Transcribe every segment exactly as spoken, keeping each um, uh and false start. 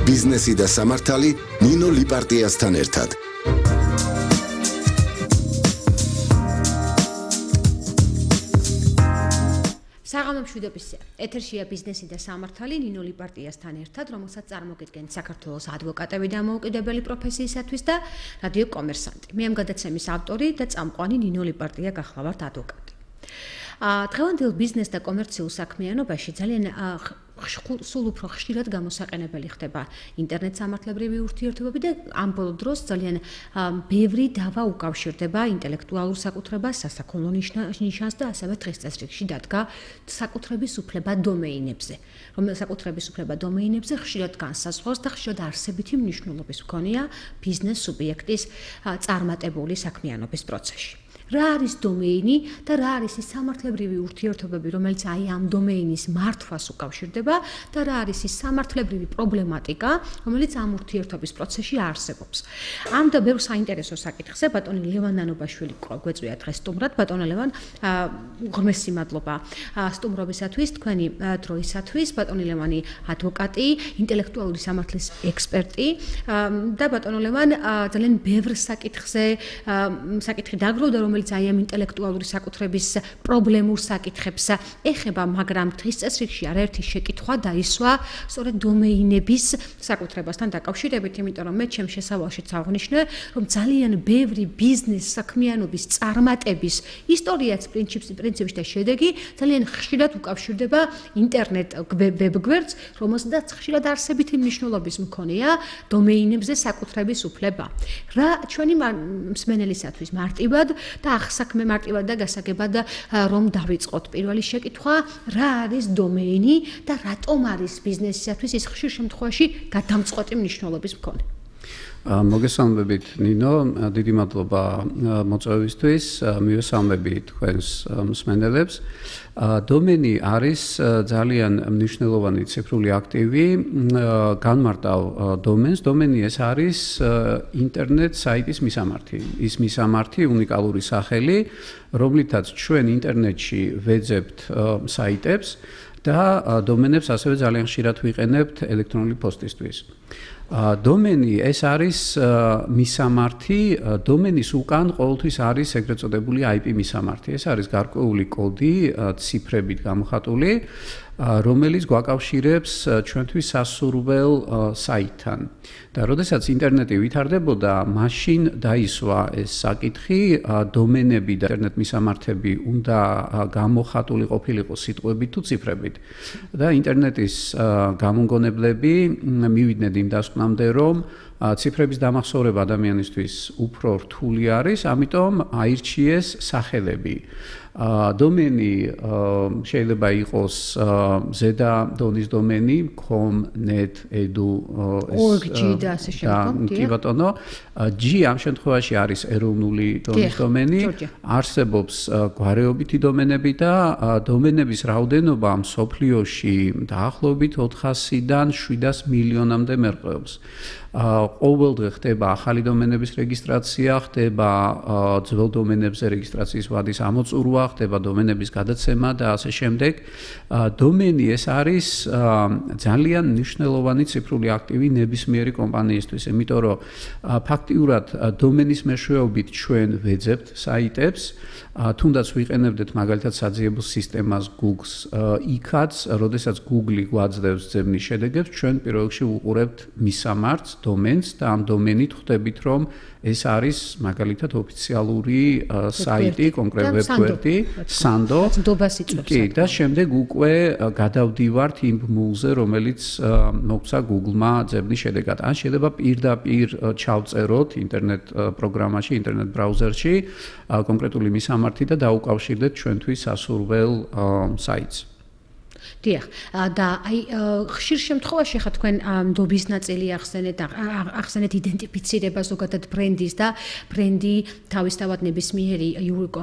ბიზნესი და სამართალი ნინო ლიპარტიასთან ერთად. საღამო მშვიდობის ეთერშია ბიზნესი და სამართალი ნინო ლიპარტიასთან ერთად, რომელსაც წარმოგიდგენთ საქართველოს ადვოკატები და მოუკიდებელი პროფესიისათვის და რადიო კომერსანტი. მე ამ გადაცემის ავტორი და წამყვანი ნინო ლიპარტია გახლავართ ადვოკატი. დღევანდელ ბიზნეს და კომერციულ საქმიანობაში ძალიან სულ უფრო ხშირად გამოსაყენებელი ხდება ინტერნეტ სამართლებრივი ურთიერთობები და ამ ბოლო დროს ძალიან ბევრი დავა უკავშირდება ინტელექტუალურ საკუთრებას, სასაქონლო ნიშანს და ასევე დღეს წესრიგში დადგა საკუთრების უფლება დომეინებზე. რომელიც საკუთრების უფლება დომეინებზე ხშირად განსაზღვრავს და ხშირად არსებითი მნიშვნელობის მქონეა ბიზნეს სუბიექტის წარმატებული საქმიანობის პროცესში. რა არის დომეინი და რა არის ის სამართლებრივი ურთიერთობები, რომელიც აი ამ დომეინის მართვას უკავშირდება და რა არის ის სამართლებრივი პრობლემატიკა, რომელიც ამ ურთიერთობის პროცესში არსებობს. ამ და ბევრ საინტერესო საკითხზე ბატონი ლევან ნანობაშვილი გვეწვია დღეს სტუმრად. ბატონო ლევან, ღრმესი მადლობა სტუმრობისათვის, თქვენი დროისათვის. ბატონი ლევანი ადვოკატი, ინტელექტუალური სამართლის ექსპერტი და ბატონო ლევან ძალიან ბევრ საკითხზე საკითხი დაგროვდა, რომელიც აი ამ ინტელექტუალური საკუთრების პრობლემურ საკითხებს ეხება, მაგრამ დღის წესრიგში არაერთი შეკითხვა დაისვა სწორედ დომეინების საკუთრებასთან დაკავშირებით, იმიტომ რომ მე ჩემს შესავალშიც აღვნიშნე, რომ ძალიან ბევრი ბიზნეს საქმიანობის წარმატების ისტორიაც პრინციპში და შედეგი ძალიან ხშირად უკავშირდება ინტერნეტ ვებგვერდს, რომელსაც ხშირად არსებითი მნიშვნელობის მქონეა დომეინებზე საკუთრების უფლება. რა ჩვენი მსმენელისათვის მარტივად და ახსაქმე მარტივად და გასაგებად რომ დავიწყოთ. პირველი შეკითხვა, რა არის დომეინი და რატომ არის ბიზნესისათვის ის ხშირ შემთხვევაში გადამწყვეტი მნიშვნელობის მქონე? მოგესალმებით ნინო, დიდი მადლობა მოწვევისთვის, მივესალმები თქვენს მსმენელებს. დომენი არის ძალიან მნიშვნელოვანი ციფრული აქტივი, განმარტავ დომენს. დომენი ეს არის ინტერნეტ საიტის მისამართი. ის მისამართი უნიკალური სახელი, რომლითაც ჩვენ ინტერნეტში ვეძებთ საიტებს და დომენებს ასევე ძალიან ხშირად ვიყენებთ ელექტრონული პოსტისთვის. დომენი ეს არის მისამართი, დომენის უკან ყოველთვის არის ეგრეთ წოდებული აი პი მისამართი. ეს არის გარკვეული კოდი, ციფრებით გამოხატული, რომელიც გვაკავშირებს ჩვენთვის სასურველ საიტთან. და როდესაც ინტერნეტი ვითარდებოდა, მაშინ დაისვა ეს საკითხი, დომენები და ინტერნეტ მისამართები უნდა გამოხატული ყოფილიყო სიტყვებით თუ ციფრებით. და ინტერნეტის გამომგონებლები მივიდნენ იმ დასკვნამდე, რომ ციფრების დამახსოვრება ადამიანისთვის უფრო რთული არის, ამიტომ აირჩიეს სახელები. დომენი შეიძლება იყოს ზედა დონის დომენი com, net, edu, org და ასე შემდგომ. კი ბატონო, G ამ შემთხვევაში არის ეროვნული დონის დომენი, არსებობს გვარეობითი დომენები და დომენების რაოდენობა მსოფლიოში დაახლოებით ოთხასიდან შვიდას მილიონამდე მერყეობს. ყოველდღე ხდება ახალი დომენების რეგისტრაცია, ხდება ძველ დომენებზე რეგისტრაციის ვადის ამოწურვა, ხდება დომენების გადაცემა და ასე შემდეგ. დომენი ეს არის ძალიან მნიშვნელოვანი ციფრული აქტივი ნებისმიერი კომპანიისთვის, იმიტომ რომ ფაქტიურად დომენის მეშვეობით ჩვენ ვეძებთ საიტებს, თუნდაც ვიყენებდეთ მაგალითად საძიებო სისტემას Google-ს, იქაც, როდესაც Google გვაძლევს ძებნის შედეგებს, ჩვენ პირველ რიგში ვუყურებთ მისამართს, დომენს და ამ დომენით ხვდებით, რომ ეს არის მაგალითად ოფიციალური საიტი, კონკრეტ ვებგვერდი, Sando. კი, და შემდეგ უკვე გადავდივართ იმ ბმულზე, რომელიც მოგცა Google-მა ძებნის შედეგად. ან შეიძლება პირდაპირ ჩავწეროთ ინტერნეტ პროგრამაში, ინტერნეტ ბრაუზერში კონკრეტული მისამართი და დაუკავშირდეთ ჩვენთვის სასურველ საიტს. დიახ, და აი ხშირ შემთხვევაში ხა თქვენ დობის ნაწილი ახსენეთ, ახსენეთ იდენტიფიცირება ზოგადად ბრენდის და ბრენდი თავისთავად ნებისმიერი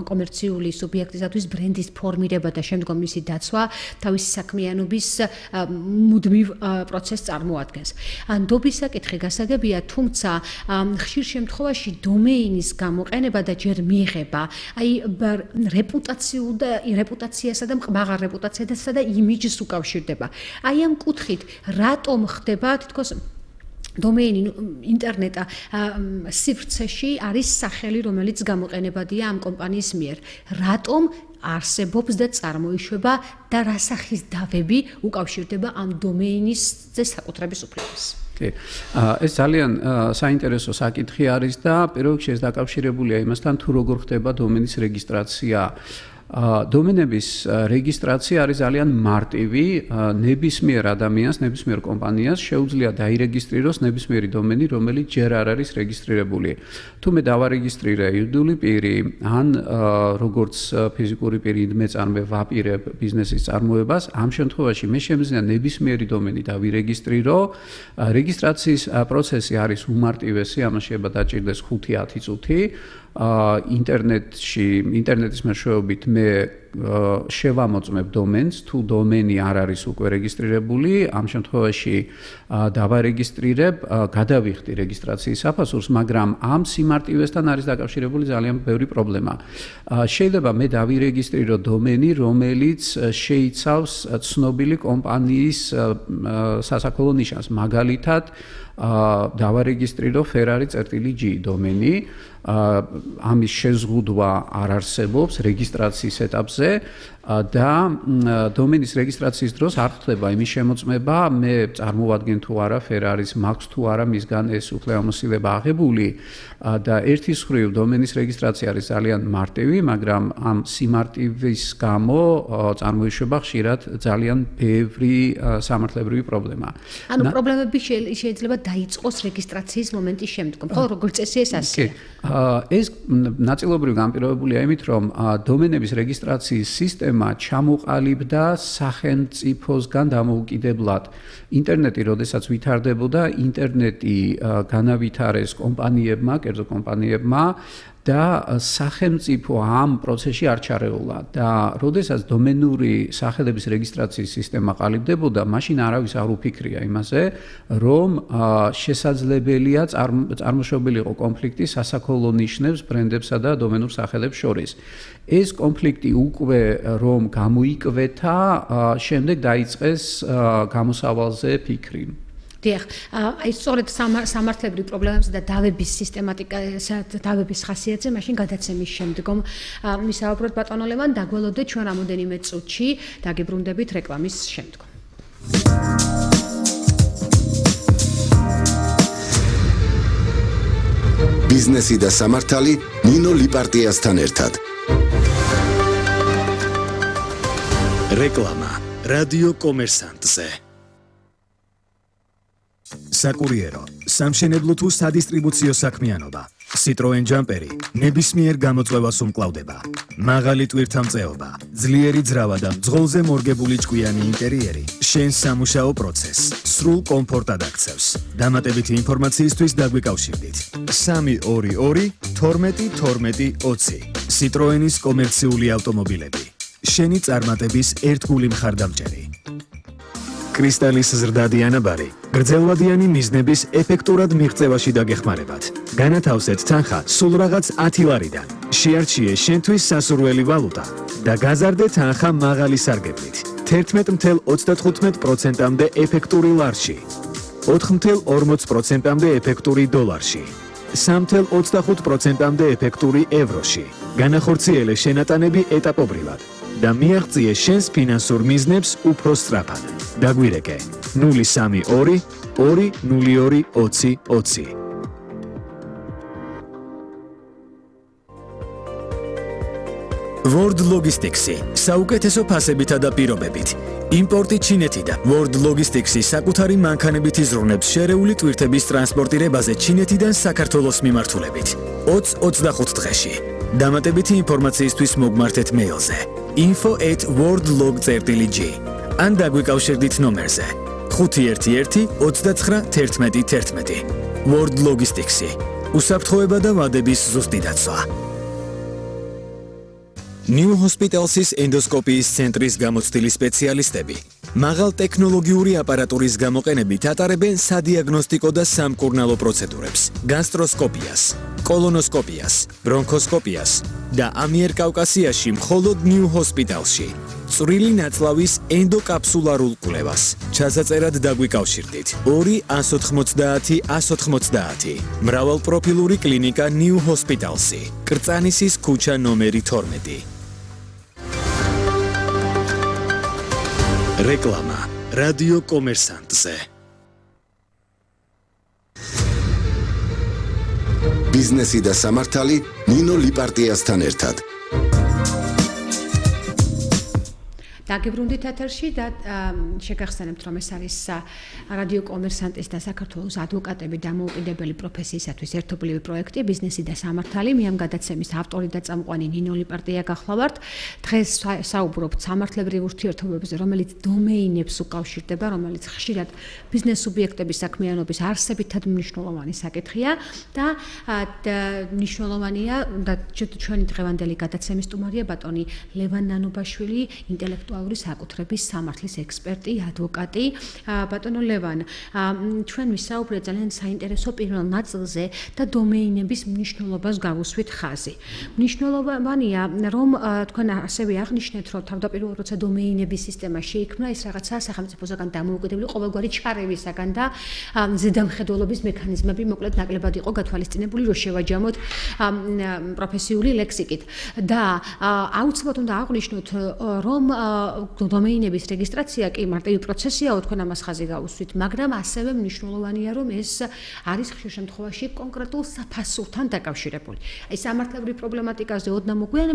კომერციული სუბიექტისათვის ბრენდის ფორმირება და შემდგომ მისი დაცვა თავისი საქმიანობის მუდმივ პროცესს წარმოადგენს. დობის საკითხი გასაგებია, თუმცა ხშირ შემთხვევაში დომეინის გამოყენება და ჯერ მიიღება, აი რეპუტაციულ და რეპუტაციასა და მაღალ რეპუტაციასა და იმიჯ იმიჯს უკავშირდება. აი ამ კუთხით რატომ ხდება თითქოს დომეინი ინტერნეტა სივრცეში არის სახელი, რომელიც გამოყენებადია ამ კომპანიის მიერ. რატომ არსებობს და წარმოიშვება და რა სახის დავები უკავშირდება ამ დომეინის საკუთრების უფლებას? კი. ეს ძალიან საინტერესო საკითხი არის და პირველ რიგში ეს დაკავშირებულია იმასთან, თუ როგორ ხდება დომენის რეგისტრაცია. დომენების რეგისტრაცია არის ძალიან მარტივი, ნებისმიერ ადამიანს, ნებისმიერ კომპანიას შეუძლია დაირეგისტრიროს ნებისმიერი დომენი, რომელიც ჯერ არ არის რეგისტრირებული. თუ მე დავარეგისტრირე იურიდიული პირი, ან როგორც ფიზიკური პირი მე წარმე ვაპირებ ბიზნესის წარმოებას, ამ შემთხვევაში მე შემიძლია ნებისმიერი დომენი დავირეგისტრირო. რეგისტრაციის პროცესი არის უმარტივესი, ამას შეიძლება დაჭირდეს ხუთი ათი წუთი. ინტერნეტში, ინტერნეტის მეშვეობით მე შევამოწმებ დომენს, თუ დომენი არ არის უკვე რეგისტრირებული, ამ შემთხვევაში დავარეგისტრირებ, გადავიხდი რეგისტრაციის საფასურს, მაგრამ ამ სიმარტივესთან არის დაკავშირებული ძალიან ბევრი პრობლემა. შეიძლება მე დავირეგისტრირო დომენი, რომელიც შეიცავს ცნობილი კომპანიის სასაქონლო ნიშანს, მაგალითად დავარეგისტრირო Ferrari წერტილი G დომენი. ამის შეზღუდვა არ არსებობს რეგისტრაციის ეტაპზე და დომენის რეგისტრაციის დროს არ ხდება იმის შემოწმება, მე წარმოვადგენ თუ არა Ferrari-ს, მაქვს თუ არა მისგან ეს უფლებამოსილება აღებული და ერთის მხრივ დომენის რეგისტრაცია არის ძალიან მარტივი, მაგრამ ამ სიმარტივის გამო წარმოიშვება ხშირად ძალიან ბევრი სამართლებრივი პრობლემა. ანუ პრობლემები შეიძლება დაიწყოს რეგისტრაციის მომენტის შემდგომ, ხო, როგორც წესი ეს ასეა. ეს ნაწილობრივ განპირობებულია იმით, რომ დომენების რეგისტრაციის სისტემა ჩამოყალიბდა სახელმწიფოსგან დამოუკიდებლად. ინტერნეტი, როდესაც ვითარდებოდა, ინტერნეტი განავითარეს კომპანიებმა, კერძო კომპანიებმა და სახელმწიფო ამ პროცესში არ ჩარეულა და როდესაც დომენური სახელების რეგისტრაციის სისტემა ყალიბდებოდა, მაშინ არავის არ უფიქრია იმაზე, რომ შესაძლებელია წარმოშობილი იყო კონფლიქტი სასაქონლო ნიშნებს, ბრენდებსა და დომენურ სახელებს შორის. ეს კონფლიქტი უკვე რომ გამოიკვეთა, შემდეგ დაიწყეს გამოსავალზე ფიქრი. დიახ, აი სწორედ სამართლებრივ პრობლემებზე და დავების სისტემატიკასა და დავების ხასიათზე მაშინ გადაცემის შემდგომ ვისაუბროთ ბატონო ლევან, დაგველოდეთ ჩვენ რამოდენიმე წუთში, დაგიბრუნდებით რეკლამის შემდგომ. ბიზნესი და სამართალი ნინო ლიპარტიასთან ერთად. რეკლამა რადიო კომერსანტზე. საკურიერო, სამშენებლო თუ სადისტრიბუციო საქმიანობა. Citroen Jumperi ნებისმიერ გამოწვევას უმკლავდება. მაღალი ტვირთამწეობა, ძლიერი ძრავა და მძღოლზე მორგებული ჭკვიანი ინტერიერი შენს სამუშაო პროცესს სრულ კომფორტად აქცევს. დამატებითი ინფორმაციისთვის დაგვიკავშირდით. სამი ორი ორი თორმეტი თორმეტი ოცი. Citroenis კომერციული ავტომობილები. შენი წარმატების ერთგული მხარდამჭერი. კრისტალის ზრდადი ანაბარი გრძელვადიანი მიზნების ეფექტურად მიღწევაში დაგეხმარებათ. განათავსეთ თანხა სულ რაღაც ათი ლარიდან. შეარჩიე შენთვის სასურველი ვალუტა და გაზარდე თანხა მაღალი სარგებლით. თერთმეტ ათეულ ოცდათხუთმეტ პროცენტამდე ეფექტური ლარში. ოთხ ათეულ ორმოც პროცენტამდე ეფექტური დოლარში. სამ ათეულ ოცდახუთ პროცენტამდე ეფექტური ევროში. განახორციელე შენატანები ეტაპობრივად და მიაღწიე შენს ფინანსურ მიზნებს უფრო სწრაფად. დაგვირეკე ნული სამი ორი ორი ნული ორი ოცი ოცი. World Logistics-ი საუკეთესო ფასებითა და პირობებით. იმპორტი ჩინეთიდან. World Logistics-ი საკუთარი მანქანებით იზრუნებს შერეული ტვირთების ტრანსპორტირებაზე ჩინეთიდან საქართველოს მიმართულებით. ოცი ოცდახუთ დღეში. დამატებითი ინფორმაციისთვის მოგმართეთ მეილზე info at worldlog წერტილი g ან დაგვიკავშირდით ნომერზე ხუთი ერთი ერთი ოცდაცხრა თერთმეტი თერთმეტი. World Logistics-ი უსაფრთხოება და ვადების ზუსტი დაცვა. New Hospitals-ის ენდოსკოპიის ცენტრის გამოცდილი სპეციალისტები მაღალ ტექნოლოგიური აპარატურის გამოყენებით ატარებენ სადიაგნოსტიკო და სამკურნალო პროცედურებს, გასტროსკოპიას, კოლონოსკოპიას, ბრონქოსკოპიას და ამიერკავკასიაში მხოლოდ ნიუ ჰოსპიტალში. წვრილი ნაწლავის ენდოკაფსულარულ კვლევას. ჩასაწერად დაგვიკავშირდით ორი ათს ოთხმოცდაათი ათს ოთხმოცდაათი. მრავალპროფილური კლინიკა ნიუ ჰოსპიტალსი. კრწანისის ქუჩა ნომერი თორმეტი. რეკლამა რადიო კომერსანტზე. ბიზნესი და სამართალი ნინო ლიპარტიასთან ერთად. დაგიბრუნდით ეთერში და შეგახსენებთ, რომ ეს არის რადიო კომერსანტის და საქართველოს ადვოკატების დამოუკიდებელი პროფესიისათვის ერთობლივი პროექტი ბიზნესი და სამართალი. მე ამ გადაცემის ავტორი და წამყვანი ნინო ლიპარტია გახლავართ. დღეს საუბრობთ სამართლებრივ ურთიერთობებზე, რომელიც დომეინებს უკავშირდება, რომელიც ხშირად ბიზნეს სუბიექტების საქმიანობის არსებითად მნიშვნელოვანი საკითხია და მნიშვნელოვანია და ჩვენი დღევანდელი გადაცემის სტუმარია ბატონი ლევან ნანობაშვილი, ინტელექტუალური საკუთრების სამართლის ექსპერტი, ადვოკატი. ბატონო ლევან, ჩვენ ვისაუბრეთ ძალიან საინტერესო პირველ ნაწილზე და დომეინების მნიშვნელობას გავუსვით ხაზი. მნიშვნელოვანია, რომ თქვენ ასევე აღნიშნეთ, რომ თავდაპირველად როცა დომეინების სისტემა შეიქმნა, ეს რაღაცა სახელმწიფოსაგან დამოუკიდებელი ყოველგვარი ჩარევისაგან და ზედამხედველობის მექანიზმები მოკლედ ნაკლებად იყო გათვალისწინებული, რომ შევაჯამოთ პროფესიული ლექსიკით. და აუცილებლად უნდა აღვნიშნოთ, რომ დომეინების რეგისტრაცია კი მარტივი პროცესიაო, თქვენ ამას ხაზი გაუსვით, მაგრამ ასევე მნიშვნელოვანია, რომ ეს არის ხშირ შემთხვევაში კონკრეტულ საფასურთან დაკავშირებული. აი სამართლებრივ პრობლემატიკაზე ოდნავ მოგვიანებით